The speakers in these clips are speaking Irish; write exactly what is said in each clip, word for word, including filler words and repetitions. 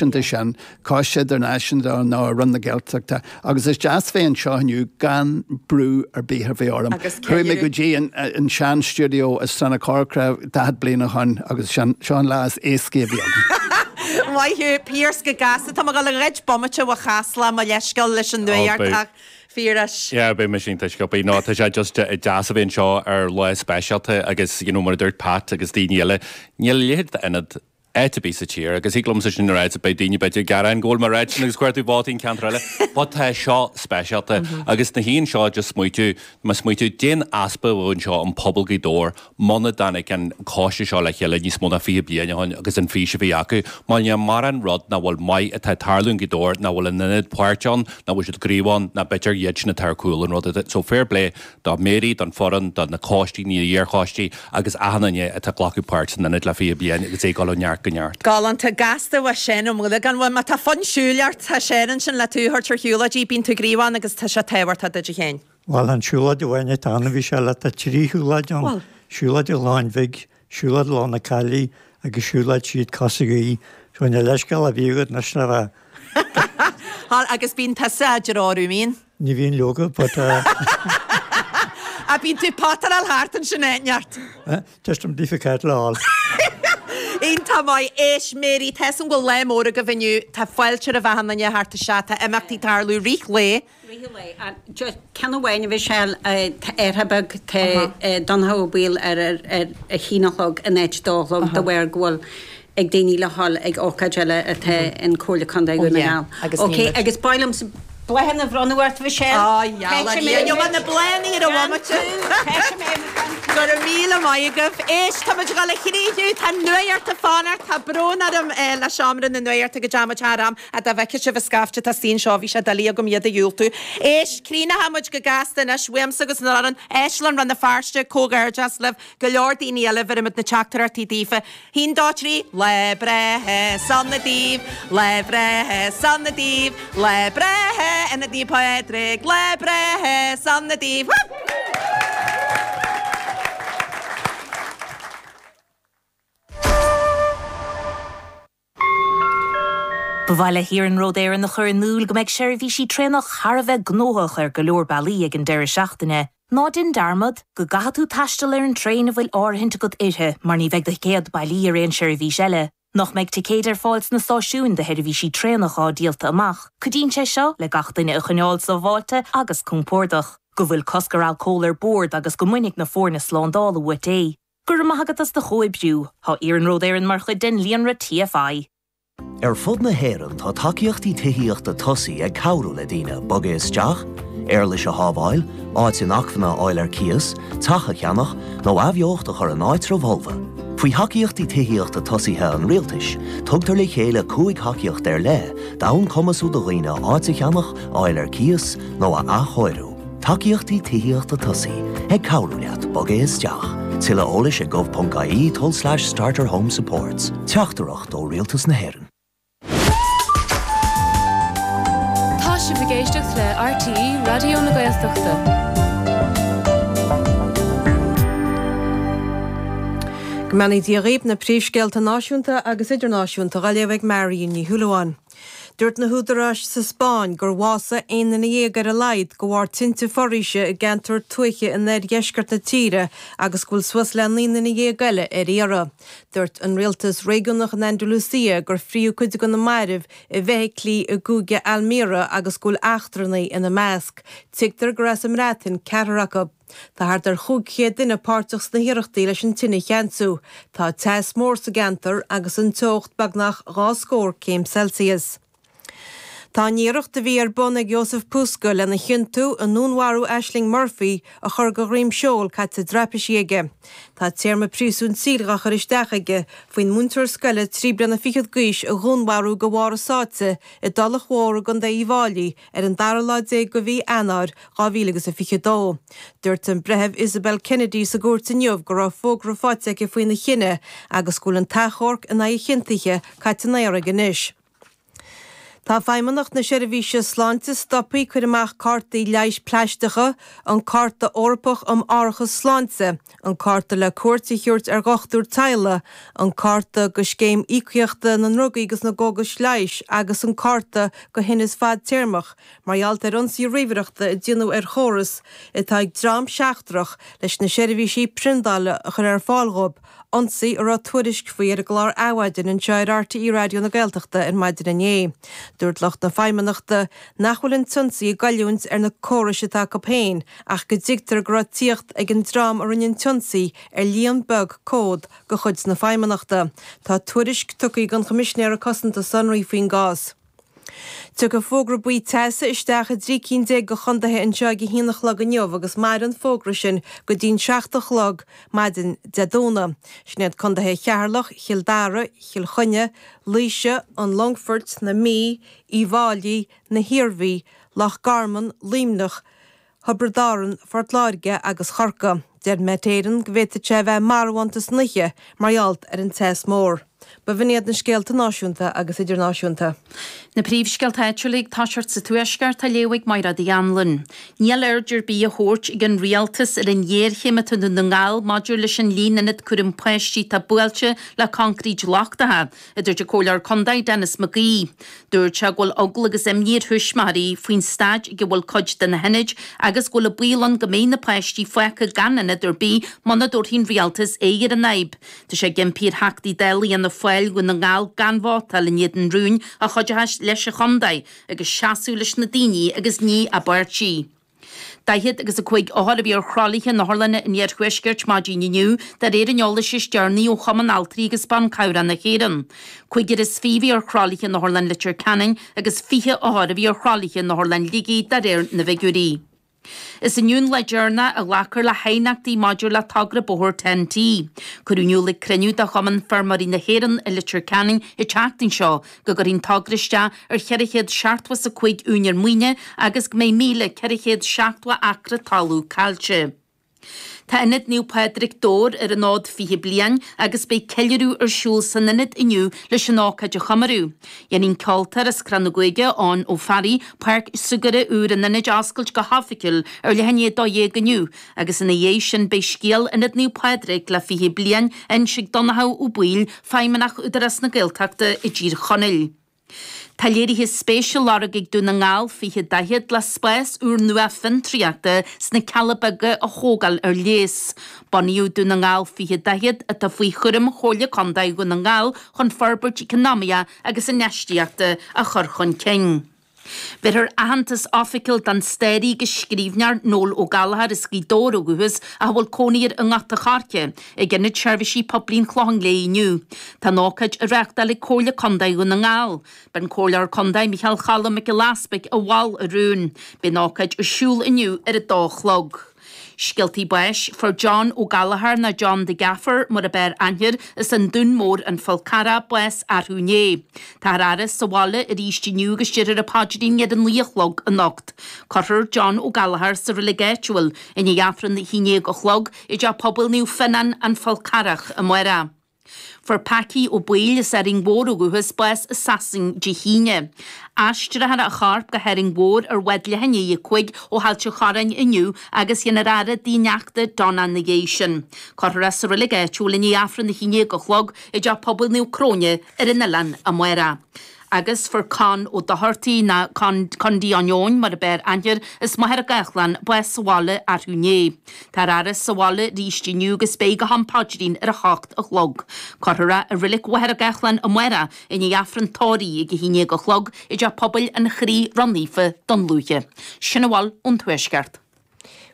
náisiúnta sin, coiste idirnáisiúnta nó Roinn na Gaeltachta, agus is deas bheith anseo inniu gan brú ar bith a bheith orm. Chuaigh mé go dtí an, an sean stiúideo i Srath na Corcra daichead bliain ó shin agus sin seo an lá is éasca a bhí agam. Maith thú, Pearse, go gasta. Tá mé ag dul a ghoid bomaite ó Chasla, mo leithscéal leis an nuacht ach fíoras. Yeah, beidh mé sin tuisce no tá sé just deas a bheith anseo ar lá speisialta agus you know, mar a dúirt Pat agus daoine eile níl a leithéid d'ionad áit ar bith sa tír agus thig liomsa sin a rá beidh daoine b'fhéidir gearán go bhfuil mé rá sin agus cuartú vótaí an ceantar eile, but tá seo speisialta agus na híon seo just smaoitiú má smaoitiú déan easpa anseo an pobal Ghaoth Dobhair muna dtáinig an coiste seo le chéile níos mó ná fiche bliain ó shin agus an fís a bhí acu, má níl mórán rud nach bhfuil maith atá tarlú in Gaoth Dobhair nach bhfuil an ionad páirt ann, nach bhfuil siad gníomhach ann, ná b'fhéidir iad sin atá ar cúl an rud. So fair play do Mary, don foireann, do na coistí, ní iarchoistí agus achan duine atá glacadh páirt san ionad le fiche bliain agus é ag dul ó neart go neart. Galánta gasta wa sin om gan bhfuil má tá fonn siúil ort tá sin ansin le tú thabhairt ar shiúlóidí bíonn tú gníomhach agus tá sé tábhachtach duit féin. Bhuel an siúlóid amháin atá ann bhí sé le tá trí shiúlóid ann. Siúlóid an Láin Bhig, siúlóid Lá na Caillí agus siúlóid siad Cosa Gaoith. So na leithscéal a bhí agat anois le bheith. Agus bíonn tusa idir orú mín. Ní bhíonn leoga, but uh, A bíonn tú potaráil thart ansin neart. Just am difficult le fháil. Iontach maith éis Mary tá an bhfuil lá mór agaibh inniu tá fáilte a bheith ann thart isteach tá imeachtaí tarlú rith lae. Ceann amháin a bhí sé airthe beag Donnchadh Ó Baoill ar ar a haon a chlog in áit dó a chlog de bharr go bhfuil ag daoine le hall ag ócáid eile atá in Comhairle Contae Dhún na nGall. Ok, agus b'áil bláthanna a bhronnadh ort Michelle. Á na bláthanna ar a bhomaite. Go raibh míle maith agaibh. Éis tá go le chríú tá nuacht ag fanacht tá brón orm le seomra na nuachta go dteamuid thar am a dá bhfeice sibh a scaifte tá saon seo bhí sé doiligh agam iad a dhiúltú. Éis críochnóimid go gasta anois uaimse agus na an Éisleann Rann na Feirste comhghairdeas libh go leor daoine eile bhfuirimid na teachtaireachtaí daofa. Haon dó trí lá breithe sona daoibh, lá breithe sona daoibh, lá breithe ina dí Pádraig, lá breithe sona daoibh. Ba mhaith le hIarnród Éireann a chur in iúl go mbeidh seirbhísí traenach thar a bheith gnóthach ar go leor bealaí ag an deireadh seachtaine. Ná déan dearmad go gcaithfidh tú taisteal ar an traein a bhfuil áirithint agat uirthi mar ní bheidh do thicéad bailí ar aon seirbhís eile. Nach mbeidh ticéid ar fáil sna stáisiúin do sheirbhísí traenach á díolta amach. Cuidíonn sé seo le gach duine a choinneáil sábháilte agus compordach. Go bhfuil cosc ar alcól ar bord agus go mbainfidh na foirne slándála uait é. Go raibh maith agat as do chomhoibriú, Tá Iarnród Éireann mar chuid den líonra TFI. Ar fud na hÉireann tá tacaíochtaí tithíochta tosaigh ag cabhrú le daoine bogadh isteach, éarlais a shábháil, áit inacmhainne a fháil ar cíos, teach a cheannach nó athbheocht a chur in áitreabh folmha. Faoi thacaíochtaí tithíochta tosaithe an rialtais, tugtar le chéile cúig thacaíocht ar leith d'fhonn cumasú do dhaoine áit a cheannach, fháil ar cíos nó a athchóiriú. Tacaíochtaí tithíochta tosaigh ag cabhrú leat bogadh isteach. Tuilleadh eolais ag gov.ie tulslais starter home supports. Teachtaireacht ó Rialtas na hÉireann. Tá sibh ag éisteacht le RTÉ Raidió na Gaeltachta. Go mbeannaí Dia dhaoibh na príomhscéalta náisiúnta agus idirnáisiúnta á léamh ag Marion Ní Shúilleabháin. Dúirt na húdaráis sa Spáinn gur bhásaigh aon duine dhéag ar a laghad de bharr tinte foraoise i gceantar tuaithe in oirdheisceart na tíre agus go bhfuil suas le naoi nduine dhéag eile ar iarraidh. Dúirt an rialtas réigiúnach in Andalusia gur fríothadh cuid de na mairbh i bhfeithiclí i gcúige Almería agus go bhfuil eachtrannaigh ina measc. Tuigtear gur as an mBreatain ceathrar acu. Tá thart ar chúig chéad duine páirteach sna hiarrachtaí leis an tine a cheansú. Tá teas mór sa gceantar agus an teocht beagnach dhá scór céim Celsius. Tá an iarracht a bhí ar bun ag Jozef Puska lena chiontú i ndúnmharú Ashling Murphy a chur go dhroim seoil caite i dtraipisí aige. Tá téarma príosúin saoil á chur isteach aige faoin múinteoir scoile trí bliana fichead d'aois a dhúnmharú de bharr a sáite i dTulach Mhór i gContae Uíbh Fhailí ar an dara lá déag de mhí Eanáir dhá mhíle agus a fiche dó. Dúirt an breitheamh Isabel Kennedy sa gcúirt inniu go raibh fógra faighte aici faoina chinneadh agus go bhfuil an t-achomharc in aghaidh a chiontaithe caite in aer aige anois. Tá Tá Feidhmeannacht na Seirbhíse Sláinte stoptha cur amach cártaí leighis plaisteacha, an Cárta Eorpach um Árachas Sláinte, an cárta le cuairt a thabhairt ar dhochtúir teaghlaigh, an cárta go Scéim Íocaíochta na nDrugaí agus na gCógas Leighis agus an cárta go thinneas fadtéarmach mar gheall ar ionsaí ríomhaireachta a déanadh ar chóras atá ag dream seachtrach leis na seirbhísí priondála a chur ar fáil dhóibh, ionsaí a raibh tuairisc faoi ar an gclár Adhmhaidin anseo ar RTÉ Raidió na Gaeltachta ar maidin inné. Dúirt lucht na Feidhmeannachta nach bhfuil an t-ionsaí ag goilliúint ar na córais atá acu féin ach go dtuigtear go raibh tíocht ag an dream a rinne an t-ionsaí ar líon beag comhad de chuid na Feidhmeannachta. Tá tuairisc tugtha ag an Choimisinéara Cosanta Sonraí faoin gcás. Tiocfaidh fógra buí teasa isteach i dtrí cinn déag de chontaetha anseo ag a haon a chlog inniu agus mairfidh an fógra sin go dtí'n seacht a chlog maidin Dé Domhnaigh. Sin iad contaetha Cheatharlach, Chill Dara, Chill Chainnigh, Laoise, an Longfoirt, na Mí, Uíbh Fháilí, na hIarmhí, Loch Garman, Luimneach, Thiobraid Árann, Phort Láirge agus Chorcaigh. Deir Met Éireann go bhféadfadh sé a bheith marbhánta san oíche mar gheall ar an teas mór. B'in iad na scéalta náisiúnta agus idirnáisiúnta. Na príomhscéalta áitiúla ag toiseacht sa Tuaisceart á léamh ag Mairéad Uí Anluain. Níl aird ar bith á thabhairt ag an rialtas ar an ghéarchéim atá i nDún na nGall maidir leis an líon ionad cúraim páistí atá buailte le concrete lochtacha, a dúirt an Comhairleoir Contae Denis McGee. Dúirt sé go bhfuil eagla agus imní ar thuismitheoirí faoin staid ag a bhfuil cuid de na hionaid agus go bhfuil an baol ann go mbeidh na páistí fágtha gan ionad ar bith muna dtabharfaidh an rialtas aghaidh ar an fhadhb. Tá sé ag impí ar Theachtaí Dála Fhianna Fáil Dhún na nGall gan vótáil in éadan rúin a chuideochas leis an chontae agus seasamh leis na daoine agus ní a bpáirtí. Daichead agus a cúig othar a bhí ar thralaithe in otharlanna an iarthuaiscirt maidin inniu, de réir an eolais is deireanaí ó Chumann Altraí agus Ban Cabhrach na hÉireann. Cúigear is fiche a bhí ar thralaithe in Otharlann Leitir Ceanainn agus fiche othar a bhí ar thralaithe in Otharlann Shligigh de réir na bhfigiúirí. Is inniu an lá deireanach a ghlacfar le haighneachtaí maidir le togra bóthair Ten-T. Cuireadh in iúl ag cruinniú de Chumann Feirmeoirí na hÉireann i Leitir Ceanainn an tseachtain seo go gcuirfidh an togra isteach ar cheithre chéad seachtó is a cúig úinéir maoine agus go mbeidh míle ceithre chéad seachtó acra talún caillte. Tá Ionad Naomh Pádraig Dobhair ar an fhód fiche bliain agus beidh ceiliúradh ar siúl san ionad inniu leis an ócáid a chomóradh. Dhéanfaidh an ceoltóir as Crann na Gruaige, Eoin Ó Fearraigh, páirc súgartha úr an ionaid a oscailt go hoifigiúil ar leath i ndiaidh a dó dhéag inniu agus ina dhiaidh sin beidh scéal Ionad Naomh Pádraig le fiche bliain á inse ag Donnchadh Ó Baoill, Feidhmeannach Údarás na Gaeltachta i dTír Chonaill. Tá léirithe spéise á lorg ag Dún na nGall fiche daichead le spás úrnua fiontraíochta sna Cealla Beaga a thógáil ar léas. Bunaíodh Dún na nGall fiche daichead, atá faoi chúram Chomhairle Contae Dhún na nGall, chun forbairt eacnamaíoch agus infheistíochta a chur chun cinn. Bhéarfar aitheantas oifigiúil don staraí agus scríbhneoir Noel Ó Gallchóir as Gaoth Dobhair ó dhúchas ach a bhfuil cónaí air i nGort a' Choirce, ag Ionad Seirbhísí Poiblí an Chlocháin Léith inniu. Tá an ócáid á reáchtáil ag Comhairle Contae Dhún na nGall. B'é an Comhairleoir Contae Micheál Choilm Mac Giolla Easpaig a mhol an rún. Beidh an ócáid ar siúl inniu ar a dó a chlog. Scéaltaí báis, Fuair John Ó Gallchóir nó John the Gaffer mar ab fhearr aithne air as an Dún Mór An Fál Carrach bás arú inné. Táthar á fhaire sa bhaile arís inniu agus déarfar an paidrín ar a naoi a chlog anocht. Cuirfear John Ó Gallchóir sa reilig áitiúil i ndiaidh Aifreann a haon déag a chlog i dTeach Pobail Naomh Fionnán An Fál Carrach amárach. Fuair Packie Ó Baoill as Árainn Mhór ó dhúchas bás i Sasain Dé hAoine. Aistreofar a chorp go hÁrainn Mhór ar bhád leath i ndiaidh a cúig ó Ailt an Chorráin inniu agus dhéanfar a fhaire dá neachta Donna ina dhiaidh sin. Cuirfear é sa reilig áitiúil i ndiaidh Aifreann a haon déag a chlog i dTeach Pobail Naomh Cróine ar an oileán amárach. Agus fuair Con Ó Dochartaigh, nó Con, Condy an Eoin mar ab fhearr aithne air, as Machaire Gathlán, bás sa bhaile arú inné. Táthar á fhaire sa bhaile arís inniu agus beidh go ham paidrín ar a hocht a chlog. Cuirfear é i reilig Mhachaire Gathlán amárach i ndiaidh Aifreann tórraimh ag a haon déag a chlog i dTeach Pobail an Chroí Ró-Naofa, Dún Lúiche. Sin a bhfuil ón Tuaisceart.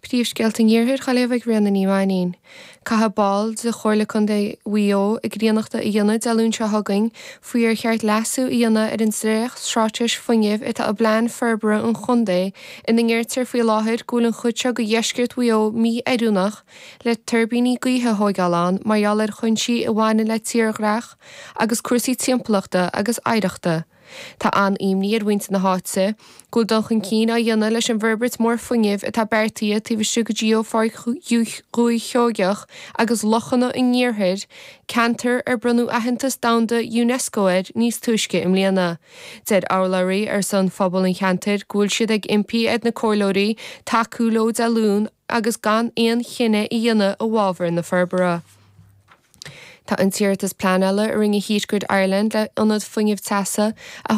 Príomhscéalta an Iarthair á léamh ag Ríona Ní Mhainín. Caithfidh baill de Chomhairle Contae Mhaigh Eo a gcríonnacht a dhéanamh Dé Luain seo chugainn faoi ar cheart leasú a dhéanamh ar an dréacht-straitéis fuinnimh atá i bPlean Forbartha an Chontae ina ndeirtear faoi láthair go bhfuil an chuid seo de dheisceart Mhaigh Eo mí-oiriúnach le tuirbíní gaoithe a thóigeáil ann mar gheall ar chúinsí a bhaineann le tírdhreach agus cúrsaí timpeallachta agus oidhreachta. Tá an-imní ar mhuintir na háite go bhfuil dul chun cinn á dhéanamh leis an bhforbairt mór fuinnimh atá beartaithe taobh istigh de Gheopháirc Dhúiche Sheoigeach agus Lochanna an Iarthair, ceantar ar bronnadh aitheantas domhanda Unesco air níos túisce i mbliana. Deir urlabhraí ar son phobal an cheantair go bhfuil siad ag impí ar na comhairleoirí tacú leo Dé Luain agus gan aon chinneadh a dhéanamh i bhfabhar na forbartha. Tá an t-iarratas pleanála a rinne Heatgrid Ireland le ionad fuinnimh teasa a